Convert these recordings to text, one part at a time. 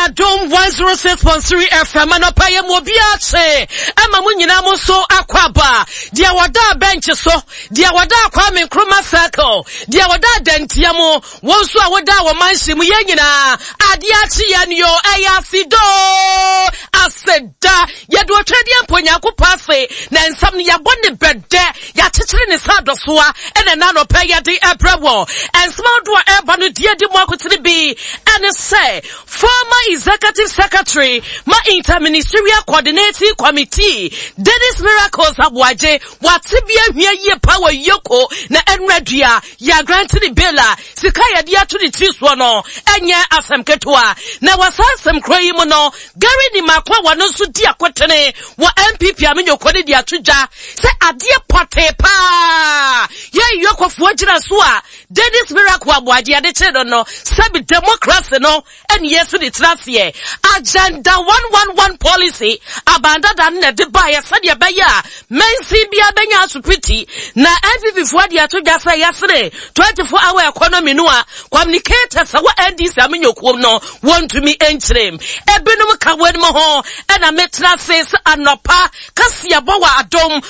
Adom 106.3 FM anɔpa yɛ mu obiara kye ɛma mo nyinaa mo nso akɔ aba deɛ wɔda bɛnkye so deɛ wɔda Kwame Nkrumah Circle deɛ wɔda Adantia mu wɔn nso a wɔda wɔ manhyɛ mu yɛn nyinaa adeɛ akye yɛn yo ɛyɛ asedoo aseda yɛde otwadeɛ mpo Nyankopɔn ase na nsɛm no yɛabɔ ne bɛdɛ Yɛakyekyere ne sɛ adɔsoa ɛna ɛna anɔpɛ yɛde ɛbrɛ wɔ. Nsɛm ahodoɔ a ɛreba no deɛ di mu akotene bi ɛne sɛ former executive secretary ma interministerial coordinating committee Dennis Miracles Aboagye wate bi ahia yie paa wɔ Yoko na ɛnora dua yɛagrante ne bail a sika yɛde ato ne tiri soɔ no ɛnyɛ asɛm ketewa. Na wɔ saa nsɛm korɔ yi mu no Gary Nimako a wɔno nso di akotene wɔ NPP amenyɔkuo no de ato dwa sɛ adeɛ pɔtee paa yɛ Yɔkɔfoɔ gyina so a Dennis Miracle Aboagye yɛde kyere no no sɛbi democracy no ɛne yɛsi de tena aseɛ. Agenda 111 policy abandada no na ɛde baeɛ sɛdeɛ ɛbɛyɛ a mansin biara bɛnya asopiti na NPP foɔ de ato dwa sɛ yɛsene 24 hour economy no a communicators a wɔ NDC amenyɔkuo no wɔntumi nkyerɛm. Ebinom ka wɔn ho ɛna metra ase sɛ anɔpa kaseɛbɔ wɔ Adom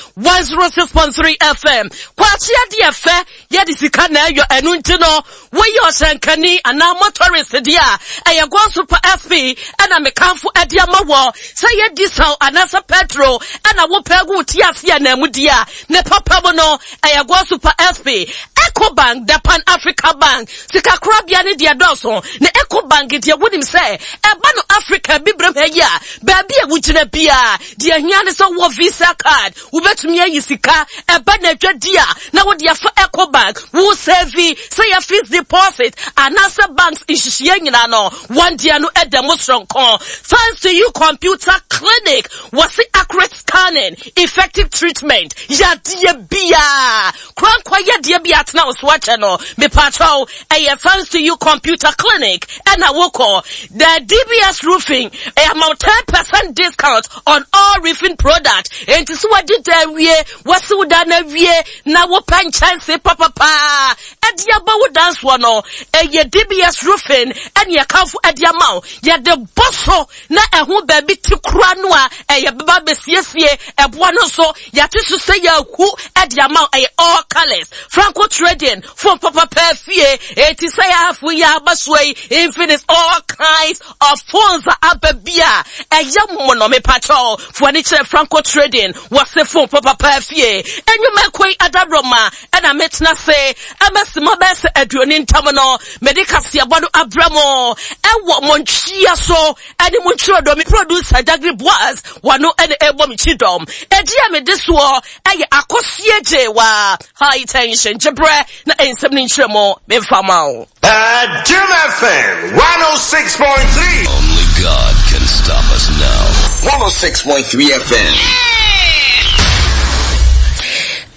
106.3 FM. Kwakye adeɛ fɛ yɛde sika na ɛyɔ ɛno nti no woyɛ ɔhyɛnkani anaa motorist deɛ a ɛyɛ Gold Super SP ɛna mekamfo ɛde ama wɔ sɛ yɛ diesel anaasɛ petrol ɛna wopɛ gu ti ase anaamu deɛ a ne papa mu no ɛyɛ Gold Super SP. Ecobank, the Pan Africa Bank, sikakorabea ne deɛ dɔɔso na Ecobank deɛ wonim sɛ ɛba no Africa bibirem ha yi a baabi a wogyina biara deɛ hia ne sɛ wɔ Visa card wobɛtumi ayi sika ɛba na adwadi a na wode afa Ecobank wo sɛvi sɛ yɛ fixed deposit anaasɛ banks nhyehyɛeɛ nyinaa no wɔn deɛ no ɛda mu soronko. Thanks to you computer clinic wɔse accurate scanning, effective treatment, yadeɛ biara Korankwa yadeɛ bi atena wo so akyɛ no, mepaakyɛw, ɛyɛ thanks to you computer clinic ɛna wokɔ. The DBS roofing ɛyɛ ama wo 10% discount on all roofing product. Enti so wadi da awie, wasi wo dan awie, na wopɛ nkyɛnse papapaa ɛde aba wo dan soɔ no, ɛyɛ DBS roofing ɛne ɛkamfo ɛde ama wo. Yɛde bɔ so na ɛho baabi te kora no a ɛyɛ bɛba bɛsiesie ɛboa no nso Yɛate so sɛ yɛahu de ama wo. Ɛyɛ all colors. Franco Trading, phone papa paa fie. Eti sɛ yɛafo yi aba so yi, Infinix all kinds of phones a aba bi a ɛyɛ mono mepakyɛw. Fo ani kyerɛ Franco Trading, wɔse phone papa paa fie. Enyuma ɛkɔ yi adabroma ɛna metena se ɛma sima bɛyɛ sɛ aduoni ntam no mede kaseɛbɔ no abrɛ mo ɛwɔ mo ntwea so ɛne mo ntwerɛdɔ me producer Jagri Boaz Wɔno na ɛbɔ me kyidɔm. Ɛdi a mede soɔ ɛyɛ akɔseɛ gyewa high tension gyebrɛ na nsɛm no nkyerɛ mu memfa ma wo. Adom FM 106.3. Only God can stop us now. 106.3 FM.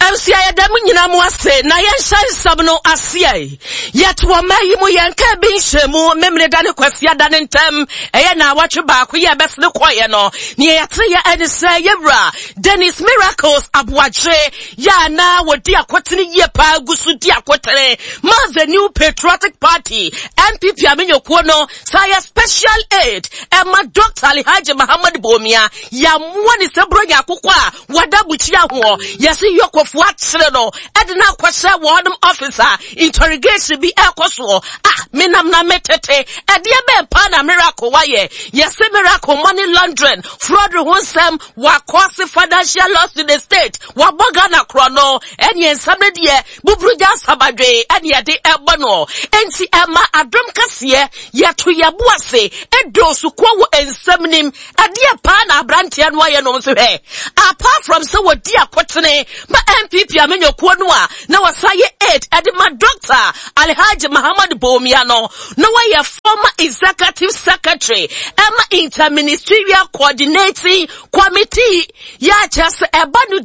Abusua yɛda mo nyinaa mo ase na yɛnhyɛ nsɛm no aseɛ. Yɛte ɔman yi mu yɛnka bi nhyɛ mu Memeneda ne Kwasiada ne ntam ɛyɛ naawɔtwe baako yɛ ɛbɛsene kɔeɛ no. Nea yɛte yɛ ɛne sɛ yɛwura Dennis Miracles Aboagye yɛ a na wɔdi akotene yie paa gu so di akotene ma The New Patriotic Party NPP amenyokuo no saa yɛ special aid ɛma Dr. Alhaji Muhammad Bawumia yɛamoa ne sɛ buronya akokɔ a Wɔda bukyia hoɔ, yɛse Yɔkɔfoɔ akyere no de no akɔhyɛ wɔnom office a interrogation bi ɛrekɔ soɔ. Ah, menam na metete, ɛdeɛ bɛn paa na Miracle wayɛ? Yɛse Miracle money laundering, fraud ho nsɛm, wakɔse financial loss to the state, wabɔ Ghana korɔ no, ɛneɛ nsɛm no deɛ buburugya asabadwe ɛne yɛde ɛbɔ no. Enti ɛma adom kɛseɛ yɛto yɛbo ase ɛdɔɔso kuo wɔ nsɛm nim. Ɛdeɛ paa na abranteɛ no ayɛ nom nso hwɛ. Apart from sɛ wɔdi akotene ma NPP amenyokuo no a na wɔsan yɛ aid ɛde ma Dr. Alhaji Muhammad Bawumia no, na wɔyɛ former executive secretary ɛma interministerial coordinating committee yɛ akyerɛ sɛ ɛba no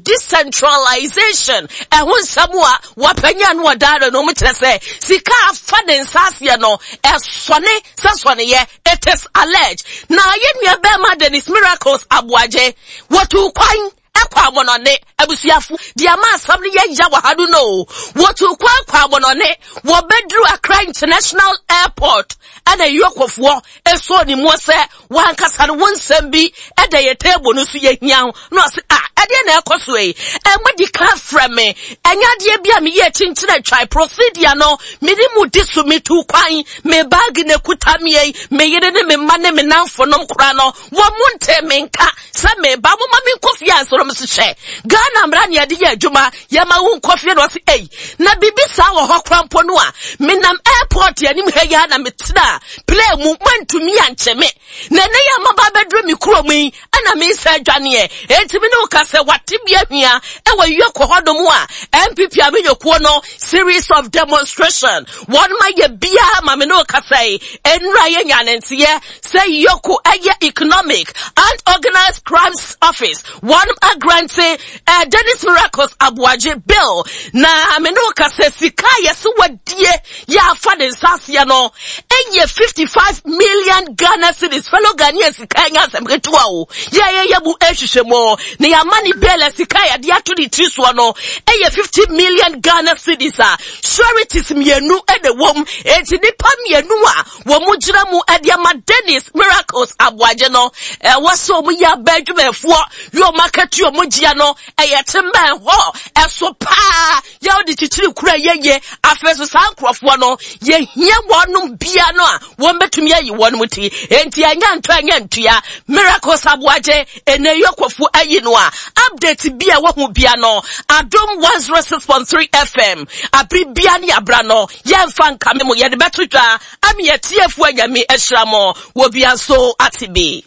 decentralization ɛho nsɛm a wɔapanya no ɔdaara no mu kyerɛ sɛ sika afa ne nsa aseɛ no ɛsɔne sɛ sɔneyɛ It is alleged na yɛn nua bɛrima Dennis Miracles Aboagye wɔtuu kwan kɔ amɔnɔne abusuafo deɛ ama asɛm no yɛ ya wɔ ha no no wɔtuu kwan kɔ amɔnɔne wɔbɛduru Accra International Airport ɛna Ɛna EOCOfoɔ ɛsɔɔ ne mu sɛ wankasa no wo nsɛm bi ɛda yɛ table no so yɛhia ho na ɔse ah ɛdeɛ na ɛkɔ so yi ɛmo di ka frɛ me ɛnyɛ adeɛ bi a meyɛ kyinkyini atwae procedure no mene mu di so metu kwan me baage na ɛkuta me yi me yere ne me mma ne me namfonom koraa no wɔn mo nte me nka sɛ meba mo ma me nkɔ fie ansoro me so hyɛ Ghana mmara ne yɛde yɛ adwuma yɛma wo nkɔ fie na ɔse ei na biribi saa wɔ hɔ koraa mpo no a menam airport anim ha yi ara na metena plane mu moantumi ankyɛ me na ɛnɛ yɛ amaba abɛduru me kurom yi ɛna mesa adwaneɛ enti me ne wo ka sɛ wate bi ahwia ɛwɔ yɔkɔ hɔnom a NPP amanyɔkuo no series of demonstration wɔn ma yɛ biara ma me ne wo ka sɛ nnura yɛ nya ne nteɛ sɛ yɔko ɛyɛ economic and organized crimes office wɔn agrante eh, Dennis Miracles Aboagye bill na me ne wo ka sɛ sika a yɛse wadie yɛ afa ne nsa aseɛ no ɛyɛ 55 million Ghana cedis fellow Ghanaian sika ɛnyɛ asɛm ketewa o yɛyɛyɛ mu ɛhwehwɛ mu na yɛama ne bail a sika a yɛde ato ne tiri soɔ no ɛyɛ 50 million Ghana cedis a sureties mmienu ɛna wɔm enti nipa mmienu a wɔn gyina mu ɛde ama Dennis Miracles Aboagye no ɛwɔ sɛ wɔn yɛ abɛ adwumayɛfoɔ yɛ wɔn akatua wɔn gyia no ɛyɛ tembɛn hɔ ɛso paa yɛ wɔde kyikyiri kura yɛyɛ afei so saa nkurɔfoɔ no yɛhia wɔnom bia no a wɔn bɛtumi ayi wɔn mu ti enti ɛnyɛ ntɔ ɛnyɛ ntua Miracles Aboagye ɛnɛ yɔkɔfo ayi no a update bi a wɔho bia no Adom 106.3 FM abere bia ne abra no yɛmfa nkame mo yɛde bɛto dwa Ame atiefo anyame ahyira mo wɔ bia nso ate bi.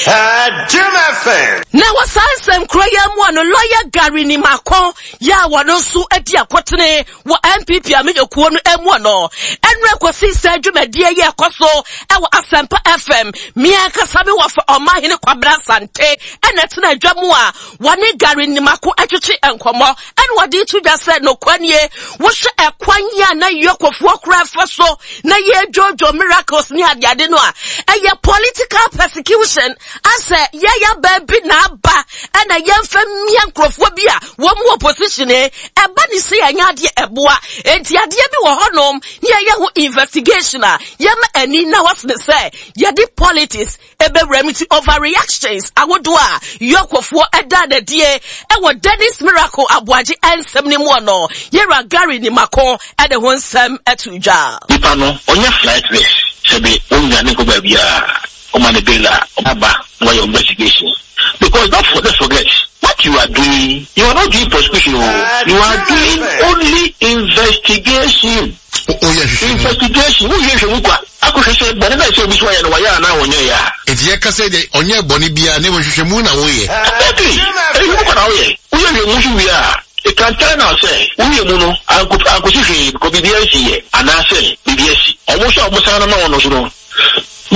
Adom FM. Na wɔ saa nsɛm koro yi mu a no lɔya Gary Nimako yɛ a wɔno nso adi akotene wɔ NPP amanyɔkuo no mu no ɛnora kɔsi sɛ dwumadie yi ɛkɔ so ɛwɔ Asɛmpa FM me ankasa me wɔfa Ɔmanhene Kwabena Asante ɛna ɛtena adwa mu a wɔne Gary Nimako ɛtwetwe nkɔmmɔ Ɛna wɔde to dwa sɛ nokwa nie, wohwɛ ɛkwan yi a na Yɔkɔfoɔ koraa fa so na yɛdwodwo miracles ne adeade no a, ɛyɛ political persecution asɛ yɛyɛ baabi na aba ɛna yɛmfa mmia nkurɔfoɔ bi a wɔn wɔ position ɛba ne sɛ yɛnyɛ adeɛ ɛboa enti adeɛ bi wɔ hɔnom ne yɛyɛ ho investigation a yɛma ani na wɔsene sɛ yɛde politics Ɛbɛwura mu ti overreactions ahodoɔ a Yɔkɔfoɔ ɛdaa n'adie ɛwɔ Dennis Miracle Aboagye ɛnsɛm no mu no, Yɛwura Gary Nimako ɛde ho nsɛm ɛto dwa. Nipa no ɔnyɛ flight risk sɛbe onnwane nkɔ baabiara ɔma no bail a ɔbɛba na wayɛ investigation because don't for let's forget what you are doing you are not doing prosecution o you are doing only investigation. Investigation, woyɛ nhwɛmu kwa akɔhwɛ sɛ bɔne no a ɛsɛ obi so ayɛ no wayɛ anaa ɔnyɛeɛ a. Enti yɛka sɛ deɛ ɔnyɛɛ bɔne biara na mmom nhwehwɛmu na woyɛ. Exactly! Nhwehwɛmu kwa na woyɛ. Woyɛ nhwehwɛmu nso wie a, it can turn out sɛ wo nhwehwɛmu no anko ankosi hwee because biribiara nsiiɛ anaasɛ biribi asi. Wɔn nso a wɔsan no ma wɔn no nso no,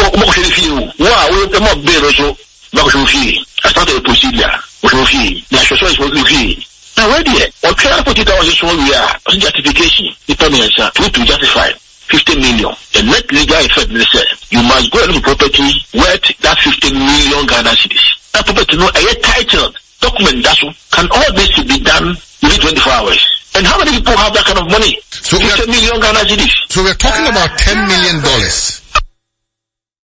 wɔkɔhwɛ ne fie o. Wo a woyɛ ma bail no nso, wɔbɛkɔhwɛ wo fie as part of the procedure. Wɔhwɛ wo fie. Na hwɛ sɛ wo fie. Na wei deɛ ɔtwɛn 48 hours so wie a ɔse justification nipa miɛnsa two to justify 50 million the net legal effect ne sɛ you must go and look for property worth that 50 million Ghana cedis na property no ɛyɛ titled document da so can all this be done within 24 hours and how many people have that kind of money So we are, 50 million Ghana cedis. so we are talking about 10 million dollars.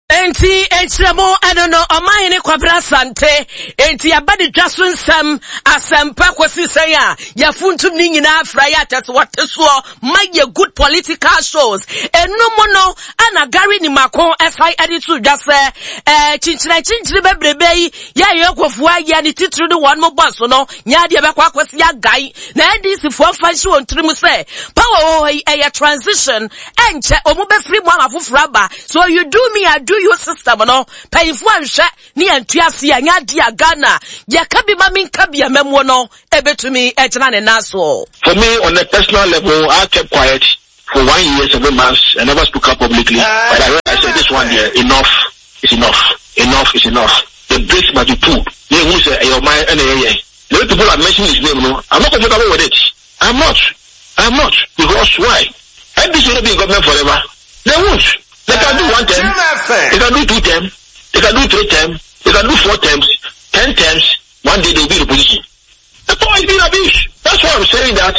Enti nkyerɛmu ɛno no ɔmanhene Kwabena Asante enti yɛba ne dwa so nsɛm asɛmpa kɔsi sɛn a yɛfuntum ne nyinaa fra yɛ akyɛ sɛ wɔte soɔ ma yɛ good political shows ɛno mu no ana Gary Nimako ɛsan ɛde to dwa sɛ ɛɛ kyinkyina kyinkyini bebrebe yi yɛ yɛ kɔfoɔ ayɛ ne titiri ne wɔn mo bɔ so no nyɛ adeɛ bɛkɔ akɔsi agan na NDC foɔ mfa nhyɛ wɔn tirim sɛ power wɔ hɔ yi ɛyɛ transition ɛnkyɛ wɔn bɛfiri mu ama foforɔ aba so you do me I do you system no mpanyinfoɔ anhwɛ ne yɛn ntua ase yɛn adi a Ghana yɛka bi ma mi nka bi amamuo no ebetumi ɛgyina ne nan soɔ. For me on a personal level I kept quiet for one year 7 months I never spoke up publicly but I realized that this one there enough is enough enough is enough the brakes must be pulled ne ehu sɛ ɛyɛ ɔman ɛna ɛyɛ the way people are mentioning his name no I'm not comfortable with it I'm not I'm not because why NDC will be in government forever they won't they can do one term they can do two term they can do three term they can do four terms 10 terms one day they will be in opposition the power is being abused that's why I'm saying that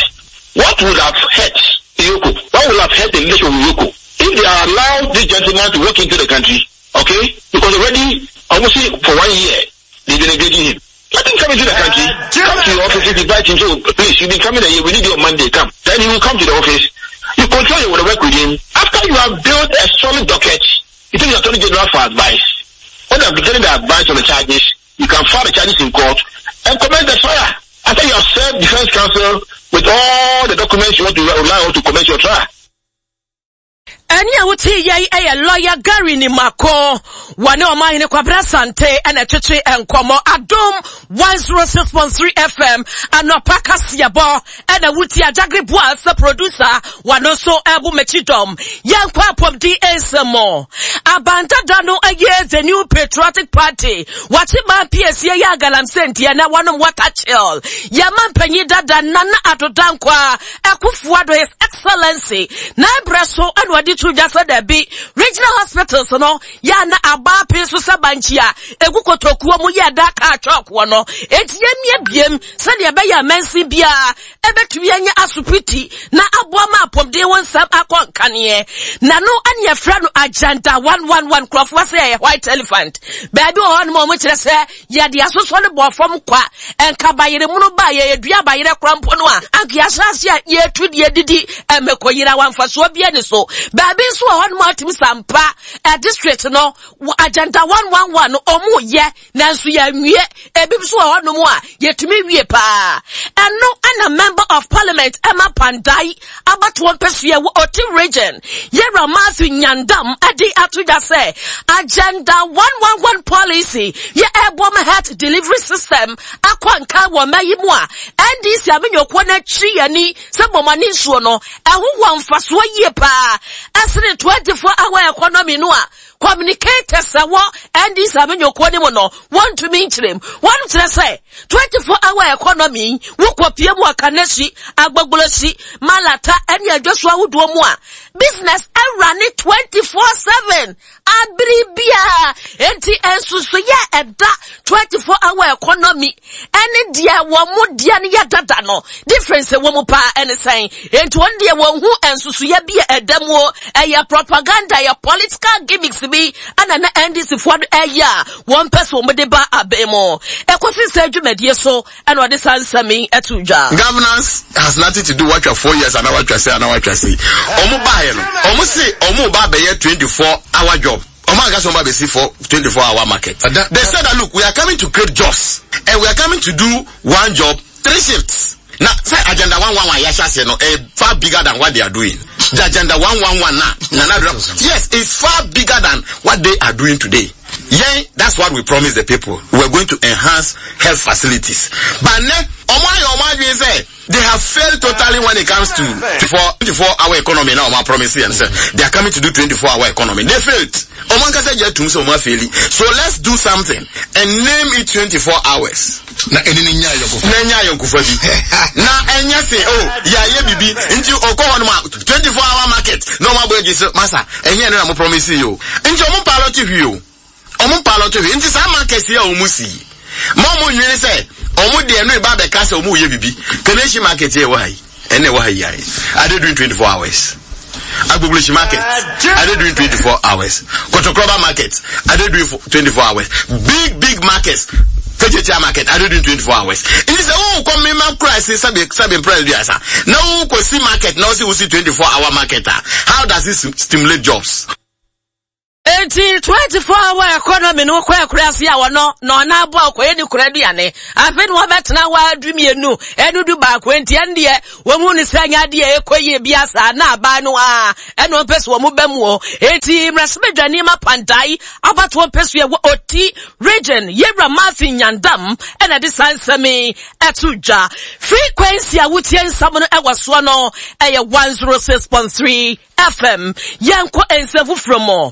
what would have hurt EOCO what would have hurt the leadership of EOCO If they allow this gentleman to walk into the country, okay, because already, almost for one year, they've been engaging him. Let him come into the country, come to your office, if you invite him, so please, you've been coming here, we need you on Monday, come. Then he will come to the office. You control your work with him. After you have built a solid docket, you take the Attorney General for advice. When you have getting the advice on the charges, you can file the charges in court and commence the trial. After you have served defense counsel with all the documents you want to rely on to commence your trial. Ɛnne a wotee yɛ yi yɛ lɔya Gary Nimako. Wɔne Ɔmanhene Kwabena Asante na ɛtwetwe nkɔmmɔ. Adom 106.3 FM anɔpa kaseɛbɔ ɛna wotie. Adagre Boa sɛ producer, wɔno nso ɛbo m'akyi dɔm. Yɛnkɔ apɔmuden nsɛm mu. Abandada no ɛyɛ The New Patriotic Party. Wakye maa piesie yɛ agalamsey nti ɛnɛ wɔnom water chill. Yɛma mpanyin dada Nana Addo Dankwa Akufo-Addo His Excellency n'abrɛ so na ɔde to dwa sɛ dabi regional hospitals no yɛ a na aba apee so sɛ bankye a egu kotokuo mu yɛ da kaa chalk wɔ no, enti yɛmmie biem sɛdeɛ ɛbɛyɛ a mansin biara ɛbɛtumi anya asopiti na aboa ma apɔmuden ho nsɛm akɔ nkaneɛ. Na no ɛne yɛfrɛ no Agenda 111. Nkurɔfoɔ sɛ ɛyɛ white elephant. Baabi wɔ hɔ nom a wɔkyerɛ sɛ Yɛde asosɔ no bɔɔ fam kwa. Nka bayerɛ munu ba a yɛdua bayerɛ kora mpo no a, anka yɛahyɛ ase a yɛtu deɛ didi mmɛkɔ yera wa mfasoɔ bi ani so. Baabi nso wɔ hɔnom a wotumi sampa ɛ district no agenda 111 no ɔmo yɛ nanso yɛnwie. Ebi nso wɔ hɔnom a yɛtumi wie paa. Ɛno ɛna member of parliament ɛma Pandai abatoɔ mpɛsua wɔ Oti region Yɛwura Matthew Nyandam de ato dwa sɛ Agenda 111 policy yɛ ɛboa ma health delivery system akɔ nkan wɔ mma yi mu a NDC amenyokuo no akyi yɛni sɛ bɔmɔne nsuo no ɛho wɔ mfasoɔ yie paa ɛsene 24 hour economy no a communicators ɛwɔ NDC amenyokuo no mu no wɔntumi nkyerɛm. Wɔn kyerɛ sɛ 24 hour economy wokɔpie mu Akanasi, Agbogbloshie, Malata ɛne adwaso ahodoɔ mu a business ɛwura 24/7 abere biara. Enti nsusuiɛ ɛda 24 hour economy ɛne deɛ wɔn mo deɛ no yɛ dada no difference ɛwɔ mu paa ɛne sɛn? Enti wɔn deɛ wɔn ho nsusuiɛ bi a ɛda mu o, ɛyɛ propaganda, ɛyɛ political gimmicks bi ɛna na NDC foɔ no ɛyɛ a wɔn pɛ so wɔn de ba abɛn mu. Ɛkɔsi sɛ dwumadie so ɛna ɔde saa nsɛm yi ɛto dwa. Governance has nothing to do watwa 4 years ana watwa se ana watwa se. Ɔmo baayɛ no, ɔmo se ɔmo ba abɛyɛ 24 hour job. Ɔmo anka sɛ ɔmo abɛsi for 24 hour market. They said that look, we are coming to create jobs and we are coming to do one job, three shifts. Na sɛ agenda 111 yɛahyɛ aseɛ no ɛyɛ far bigger than what they are doing. The agenda 111 na Nana Addo, yes, it's far bigger than what they are doing today. Yeah, that's what we promised the people. We are going to enhance health facilities. But ne, ɔmo ayɛ ɔmo adwene sɛ they have failed totally when it comes to 24 hour economy. Now, ɔmo promise and say they are coming to do 24 hour economy. They failed. Ɔmo ankasa gye atum sɛ ɔmo afaili. So let's do something and name it 24 hours. Na ɛne ne nya ayɔnkofa. Na nya ayɔnkofa bi. Na ɛnyɛ se oh yɛayɛ bibi nti ɔkɔ hɔ nom a 24 hour market na ɔmo abɔ agye sɛ masa ɛnyɛ ɛno na mo promise yi o. Nti ɔmo pilot hwee o. Ɔmo pilot hwee. Nti saa market yi a ɔmo si yi, ma ɔmo nwene sɛ ɔmo deɛ no eba abɛka sɛ ɔmo yɛ bibi. Kaneshie market yi ɛwɔ ha yi, ɛna ɛwɔ ha yi ayɛ. Are they doing 24 hours? Agbogbloshie market, are they doing 24 hours? Kotokroba market, are they doing 24 hours? Big, big markets, Kejetia market, are they doing 24 hours? Nti sɛ wo kɔ mema kura se sɛbe sɛbe mpra bi asa. Na wo kɔ si market na wo si wo si 24 hour market a, how does it stimulate jobs? Enti 24 hour economy no kɔ akura ase a wɔno na ɔna aboa ɔkɔyɛ ne kura aduane. Afei na wɔbɛtena hɔ a du mmienu ɛne du baako enti ɛno deɛ wɔn mu ne sɛ nyɛ adeɛ ɛkɔ yie bi asa na aban no a ɛna wɔn pɛ so wɔn bɛ mu o. Enti mmarahyɛbadwani ma Pandae abatoɔ mpɛ so yɛ wɔ Oti region Yewura Matthew Nyandam ɛna de saa nsɛm yi ɛto dwa. Frequency a wotie nsɛm no ɛwɔ soɔ no ɛyɛ 106.3 FM. Yɛnkɔ nsɛm foforɔ mu.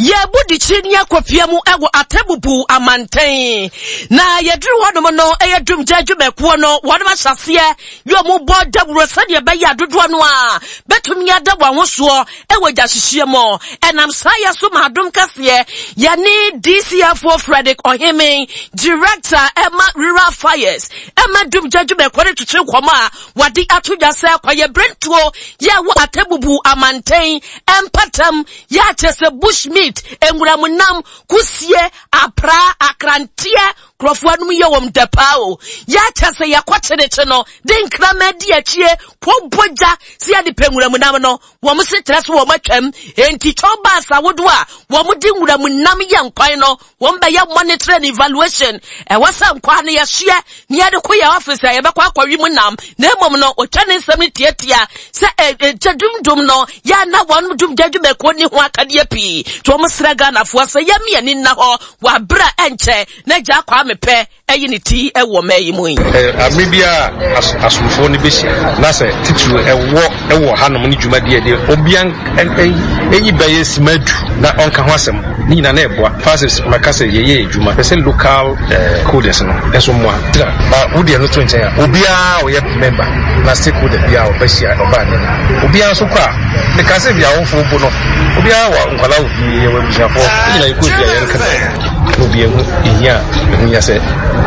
Yɛbu dikyiri ne akɔpia mu wɔ Atebubu amanten. Na yɛduru hɔnom no, ɛyɛ dumgya adwumakuo no, wɔnom ahyɛseɛ yɛ ɔmo bɔ dawuro sɛdeɛ ɛbɛyɛ a dodoɔ no a bɛtumi ada wɔn ho soɔ wɔ gyahyehyeɛ mu. Ɛnam saa yɛ so ma adom kɛseɛ yɛne DCFO Frederick Ɔheme, Director ɛma Rural Fires, ɛma dumgya adwumakuo no twetwe nkɔmmɔ a wɔde ato dwa sɛ kɔyɛ berentuo yɛ wɔ Atebubu amanten mpatam Yɛ a kyerɛ sɛ bush meat, nwuram nam, kusie, apraa, akranteɛ, nkurɔfoɔ anom yɛ wɔn dɛ paa o. Yɛ a kyerɛ sɛ yɛkɔ kyenekye no, de nkraman di akyie, kɔbɔ gya sɛ yɛde pɛ nwuram nam no, wɔn se kyerɛ sɛ wɔn atwam. Enti twɔn baas ahodoɔ a wɔn de nwuram nam yɛ nkwan no, Wɔn bɛyɛ monitor and evaluation. Ɛwɔ sɛ nkwaa no yɛhyeɛ na yɛde kɔ yɛn office a yɛbɛkɔ akɔwe mu nam. Na mmom no, ɔtwa ne nsɛm no tiatia sɛ ɛgya dumdum no yɛ na wɔn dumgya dwumakuo ni ho akadeɛ pii. Nti wɔn srɛ Ghanafoɔ sɛ yɛmme ani nna hɔ wɔ abere a ɛnkyɛ na gya Kwame pɛ ayi ne ti wɔ ɔman yi mu yi. Bere biara a asomfoɔ no bɛhyia na sɛ titiriw ɛwɔ wɔ hanom ne dwumadie a ɛdeɛ obia nyi bɛyɛ sima du na ɔnka ho asɛm ne nyinaa na ɛboa Francis maka sɛ yɛyɛ adwuma pɛ sɛ local coders no nso mmoa tira ba wo deɛ no to nkyɛn a obiara ɔyɛ member na stakeholder biara ɔbɛhyia ɔbaa ne no obiara nso kɔ a meka sɛ bi awofoɔ mpo no obiara wɔ nkwadaa wɔ fie yɛwɔ abusuafoɔ ne nyinaa yɛkɔ fie a yɛnka na obi ahu ehia a ɛho hia sɛ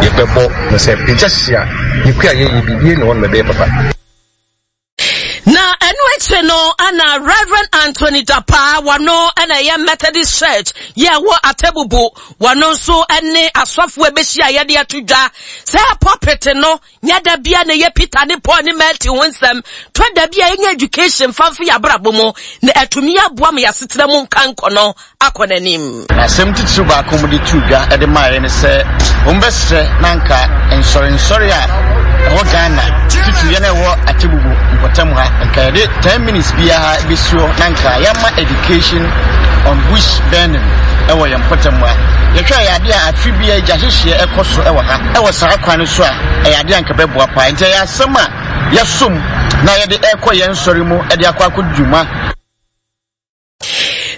yɛbɛbɔ no sɛ pagya hyia yɛkua yɛyɛ biribi na wɔn bɛyɛ papa. Na ɛno akyire no ana Reverend Anthony Dapaa wɔno ɛna ɛyɛ Methodist Church yɛ ɛwɔ Atebubu wɔno nso ɛne asɔfoɔ ɛbɛhyia yɛde ato dwa sɛ pulpit no Nyɛ da bia na ɛyɛ Peter ne Paul ne Matthew ho nsɛm. Tɔ da bi a yɛnya education fa mfa yɛn abrabɔ mu na atumi aboa ma yɛasetena mu nkankɔ no akɔ n'anim. Na asɛm titiriw baako a wɔde too dwa de maeɛ ne sɛ wɔbɛsrɛ na anka nsɔrensɔre a ɛwɔ Ghana, titiriw yɛn a ɛwɔ Atebubu mpɔtam ha, nka yɛde 10 minutes biara bɛsi hɔ na anka yɛama education on bush burning wɔ yɛn mpɔtam ha. Yɛhwɛ a ɛyɛ adeɛ a afe biara gya hyehyeɛ ɛkɔ so wɔ ha. Wɔ saa kwan no so a, ɛyɛ adeɛ a anka ɛbɛboa paa. Enti ɛyɛ asɛm a yɛsom na yɛde rekɔ yɛn nsɔre mu de akɔ akɔdi dwuma.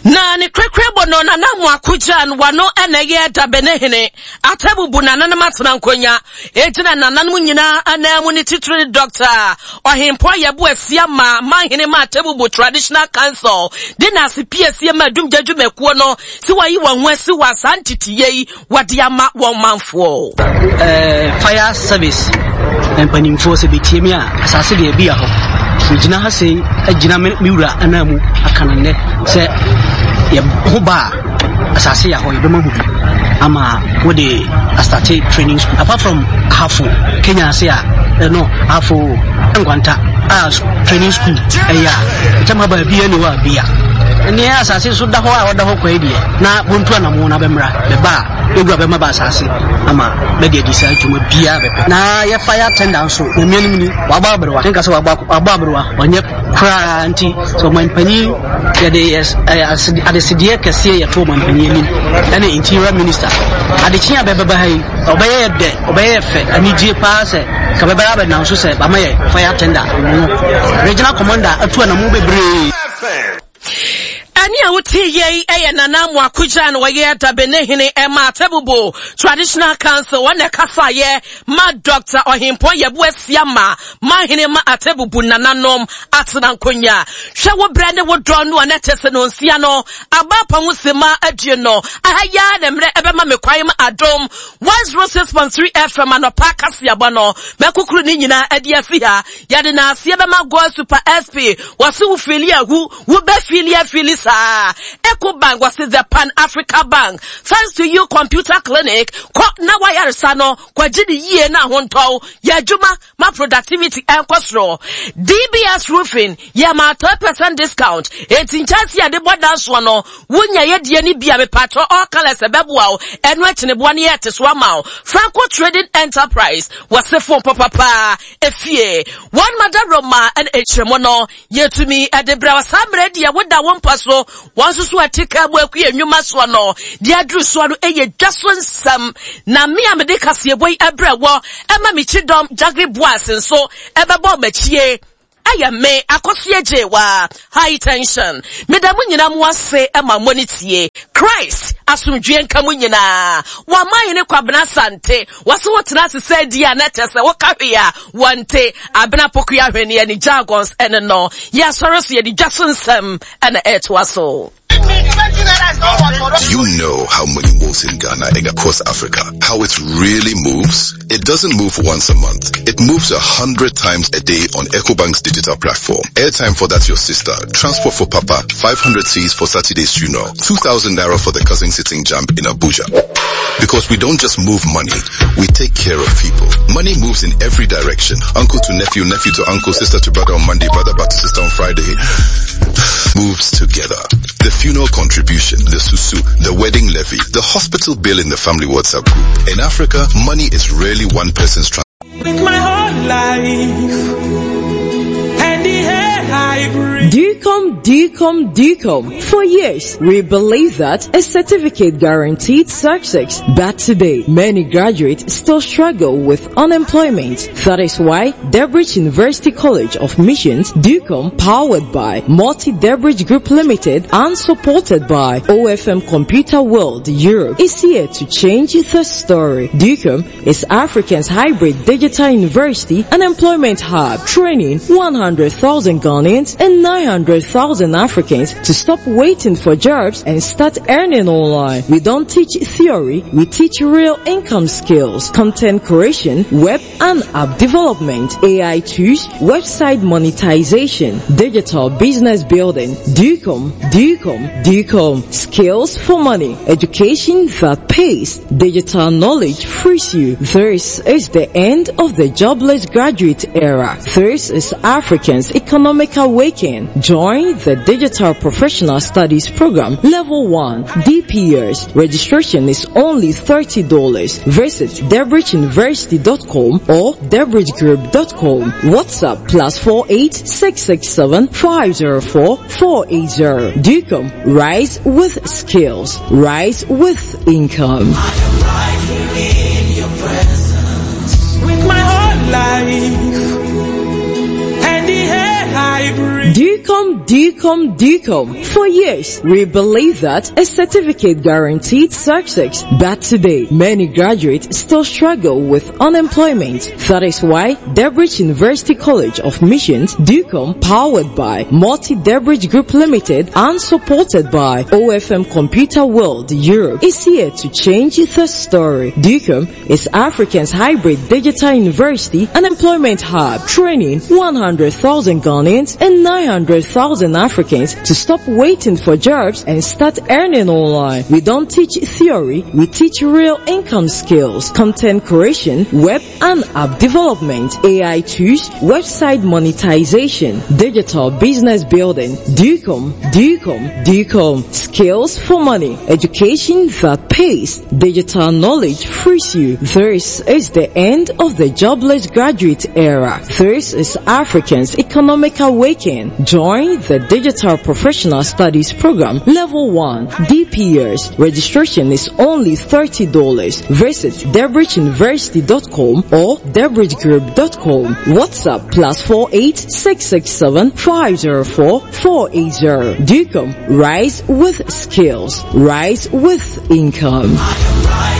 Na ne korakorabɔ no, Nana Amoako Gyan wano na ɛyɛ Dabene hene. Atabubu nananom atena nkonya. Egyina nananom nyinaa ananmu ne titiri ne Dɔkta Ɔhempɔn Yɛbo Asiamah Manhene ma Atabubu Traditional Council de n'ase piesie ma Adumgya dwumakuo no sɛ wɔayi wɔn ho asi wɔ saa nteteyɛ yi wɔde ama wɔn manfoɔ. Eh, fire service mpanimfoɔ sɛ bɛtie me a asase deɛ bi hɔ megyina ha sei agyina me wura anan mu aka no nnɛ sɛ yɛ ho ba a asase yɛ hɔ yɛbɛma ho bi ama wode astate training school apart from ahafo kenya ase a ɛno eh, ahafo nkwanta a training school ɛyɛ a ɛkyɛm ha baabi ɛne hɔ a bia ɛneɛ asase so da hɔ a ɔda hɔ kwae deɛ na bontu anamo na bɛmmra bɛba a yɛwura bɛma ba asase ama bɛde adi saa dwuma biara bɛpɛ na yɛ fire tender nso nyame anim ni wabɔ aberewa nka sɛ wabɔ aberewa ɔnyɛ koraa nti sɛ ɔmanpanyin yɛde adesedeɛ kɛseɛ yɛto ɔmanpanyin anim ɛne interior minister adekye a bɛbɛba ha yi ɔbɛyɛ yɛ dɛ ɔbɛyɛ yɛ fɛ anigye paa sɛ ka bɛbɛyɛ abɛnam so sɛ bama yɛ fire tender no regional commander atu anamo bebree. Ɛne a wote yei yɛ Nana Amoako Gyan wɔyɛ Dabene hene ɛma Atebubu Traditional Council wɔn na ɛkasaeɛ ma Dr. Ɔhempɔn Yabu Asiama Manhene ma Atebubu nananom atena nkonya. Hwɛ wo berɛ ne wo dɔ no a na ɛte sɛ nonsia no aba apa ho sima aduonu. Aha yi ara na mmerɛ ɛbɛma me kwan ma Adom 106.3 FM anɔpa kaseabɔ no mɛkukuru ne nyinaa adi asi ha. Yɛde naaseɛ bɛma God Super SP wɔse wo fili ahu wo bɛ fili afili saa. Eco Bank wɔse the Pan Africa Bank thanks to you computer clinic kɔ na wayaresa no kɔgye ne yie na ahontɔw yɛ adwuma ma productivity ɛnkɔ soro. DBS Roofing yɛ ma 10% discount enti nkyɛnse yɛde bɔ dansoɔ no wonya yɛ deɛ no bi a mepatɔ all colors ɛbɛboa wo ɛno akyeneboa no yɛ ɛte so ama wo. Franco Trading Enterprise wɔse phone papapaa efie. Wɔn mada Roma ne nkyerɛmu no yɛtumi de brɛ wɔ saa mmerɛ deɛ woda wo mpa so wɔn nso so ɛte kaa mu akue nnwuma soɔ no deɛ aduru soɔ no ɛyɛ dwa so nsɛm na me a mede kaseɛbɔ yi ɛbrɛ wɔ ɛma me kyidɔm Jagri Boas nso ɛbɛbɔ m'akyie. ɛyɛ me, Akosua Gyewaa, High Tension. Meda mo nyinaa mo ase ma mo ne tie. Christ asomdwie nka mo nyinaa. Wama hene Kwabena Asante. Wɔse wotena ase sɛ di a na kyerɛ sɛ woka hwee a wɔnte. Abena Pokuya Ahweneɛ ne jargons ɛne no. Yɛasɔre so yɛde dwa so nsɛm ɛna ɛretoa so. Do you know how money moves in Ghana and across Africa? How it really moves? It doesn't move once a month. It moves a hundred times a day on EcoBank's digital platform. Airtime for that your sister, transport for papa, 500 C's for Saturday's funeral, 2,000 naira for the cousin sitting jump in Abuja. Because we don't just move money, we take care of people. Money moves in every direction. Uncle to nephew, nephew to uncle, sister to brother on Monday, brother back to sister on Friday. Moves together. The funeral contribution, the susu, the wedding levy, the hospital bill in the family WhatsApp group. In Africa, money is rarely one person's trans- With my whole life and the air I breathe. DUCOM, DUCOM, DUCOM. For years, we believe that a certificate guaranteed success. But today, many graduates still struggle with unemployment. That is why Debridge University College of Missions, DUCOM, powered by Multi Debridge Group Limited and supported by OFM Computer World Europe, is here to change the story. DUCOM is Africa's hybrid digital university and employment hub, training 100,000 Ghanaians and 900,000 Africans to stop waiting for jobs and start earning online. We don't teach theory, we teach real income skills, content creation, web and app development, AI tools, website monetization, digital business building, DUCOM, DUCOM, DUCOM, skills for money, education that pays, digital knowledge frees you. This is the end of the jobless graduate era. This is Africans' economic awakening. Join the Digital Professional Studies Program Level 1 DPS. Registration is only $30. Visit debridgeuniversity.com or debridgegroup.com. WhatsApp plus 48 667 504 480. DUCOM, rise with skills, rise with income. With my whole life and the air I breathe. DUCOM, DUCOM, DUCOM. For years, we believe that a certificate guaranteed success. But today, many graduates still struggle with unemployment. That is why Debridge University College of Missions, DUCOM, powered by Multi Debridge Group Limited and supported by OFM Computer World Europe, is here to change the story. DUCOM is Africa's hybrid digital university and employment hub, training 100,000 Ghanaians and 900,000 Africans to stop waiting for jobs and start earning online. We don't teach theory, we teach real income skills, content creation, web and app development, AI tools, website monetization, digital business building, DUCOM, DUCOM, DUCOM, skills for money, education that pays, digital knowledge frees you. This is the end of the jobless graduate era. This is Africans' economic awakening. Join the Digital Professional Studies Program Level 1 DPS. Registration is only $30. Visit debridgeuniversity.com or debridgegroup.com. WhatsApp plus 48 667 504 480. DUCOM, rise with skills, rise with income.